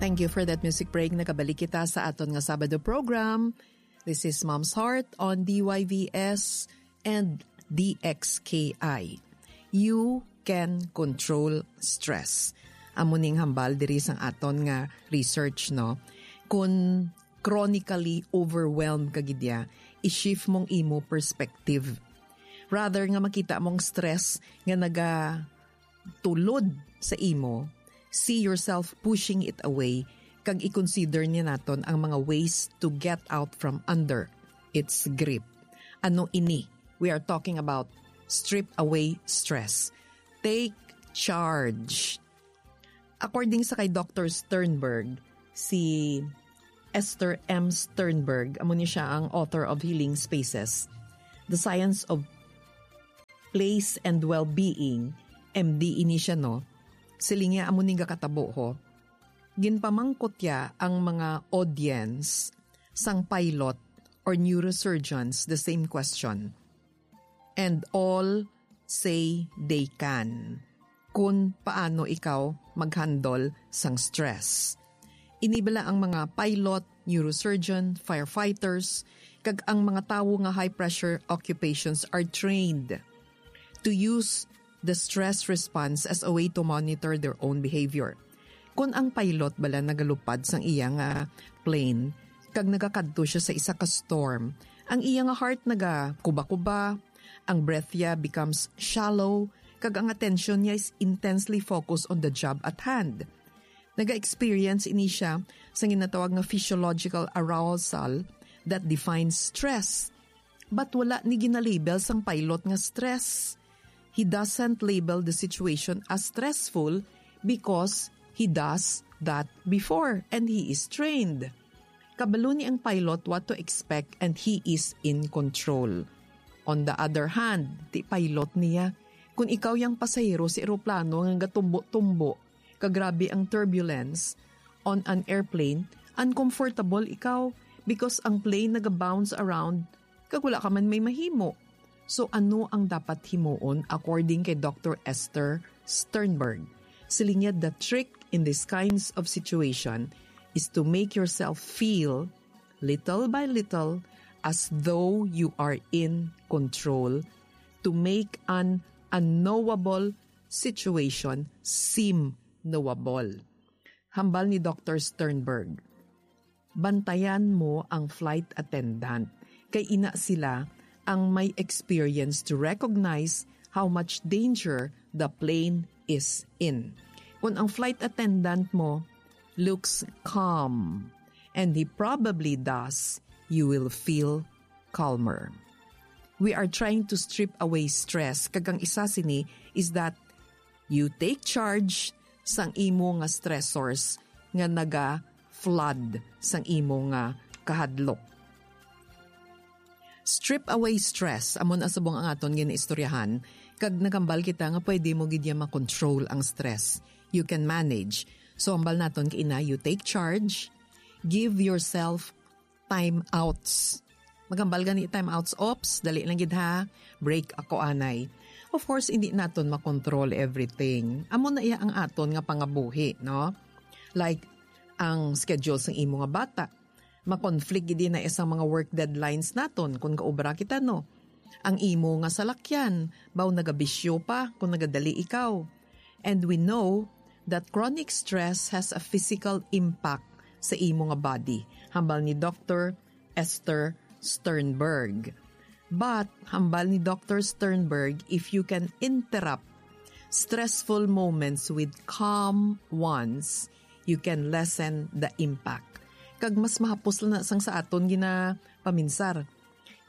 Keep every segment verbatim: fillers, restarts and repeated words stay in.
Thank you for that music break. Nakabalik kita sa aton nga Sabado program. This is Mom's Heart on D Y V S and D X K I. You can control stress. Amo ning hambal diri sang aton nga research, no? Kung chronically overwhelmed ka gid ya, i-shift mong imo perspective. Rather nga makita mong stress nga naga tulod sa imo, see yourself pushing it away, kag i-consider niya naton ang mga ways to get out from under its grip. Ano ini? We are talking about strip away stress. Take charge. According sa kay Doctor Sternberg, si Esther M. Sternberg, amo ni siya ang author of Healing Spaces, The Science of Place and Well-Being, M D ini siya, no? Siling niya, amo ni gakatabo ho. Ginpamangkot ya ang mga audience sang pilot or neurosurgeons the same question. And all say they can. Kung paano ikaw mag-handle sang stress. Ini bala ang mga pilot, neurosurgeon, firefighters, kag ang mga tawo nga high-pressure occupations are trained to use the stress response as a way to monitor their own behavior. Kung ang pilot bala nagalupad sang iya nga plane kag nagakadto siya sa isa ka storm, ang iya nga heart nagakuba-kuba, ang breath niya becomes shallow, kag ang atensyon niya is intensely focused on the job at hand. Naga-experience ini siya sa ginatawag nga physiological arousal that defines stress. But wala ni ginalabel sang pilot nga stress. He doesn't label the situation as stressful because he does that before and he is trained. Kabalo ni ang pilot what to expect and he is in control. On the other hand, ti pilot niya, kung ikaw yang pasahero sa eroplano nga gatumbo-tumbo, kagrabe ang turbulence on an airplane, uncomfortable ikaw because ang plane nagabounce around kag wala ka man may mahimo. So ano ang dapat himuon according kay Doctor Esther Sternberg? Siling niya, the trick in these kinds of situation is to make yourself feel, little by little, as though you are in control, to make an unknowable situation seem knowable. Hambal ni Doctor Sternberg, bantayan mo ang flight attendant, kay ina sila ang may experience to recognize how much danger the plane is in. Kung ang flight attendant mo looks calm, and he probably does, you will feel calmer. We are trying to strip away stress, kag ang isa sini is that you take charge sang imo nga stressors nga naga-flood sang imo nga kahadlok. Strip away stress, amo na subong ang aton ginaistoryahan, kag nakambal kita nga pwede mo gid ya makontrol ang stress. You can manage. So, hambal naton kaina, you take charge, give yourself time outs. Magambal gani time outs, ops, dali lang gid ha. Break ako anay. Of course, hindi naton makontrol everything. Amo na iya ang aton nga pangabuhi, no? Like, ang schedule sang imo nga bata. Ma-conflict gid na isang mga work deadlines naton kung gaobra kita, no? Ang imo nga salakyan, baw nagabisyo pa kung nagadali ikaw. And we know that chronic stress has a physical impact sa imo nga body, hambal ni Doctor Esther Sternberg. But, hambal ni Doctor Sternberg, if you can interrupt stressful moments with calm ones, you can lessen the impact. Kag mas mahapos lang na sang sa aton ginapaminsar.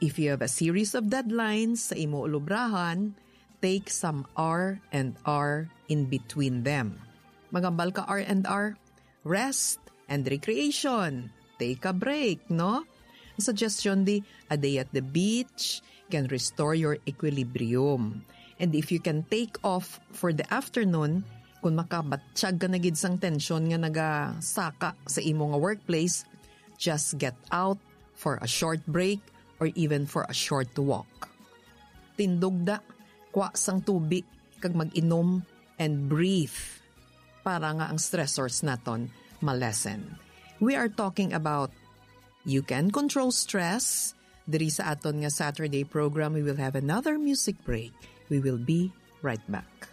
If you have a series of deadlines sa imo ulubrahan, take some R and R in between them. Magambal ka R and R, rest and recreation. Take a break, no? Ang suggestion di, a day at the beach can restore your equilibrium. And if you can take off for the afternoon, kung makabatsyag ka na gid sang tensyon nga nagasaka sa imo nga workplace, just get out for a short break or even for a short walk. Tindog da, kwa sang tubi, kag mag-inom and breathe para nga ang stressors naton Malesen. We are talking about you can control stress. Diri sa aton nga Saturday program, we will have another music break. We will be right back.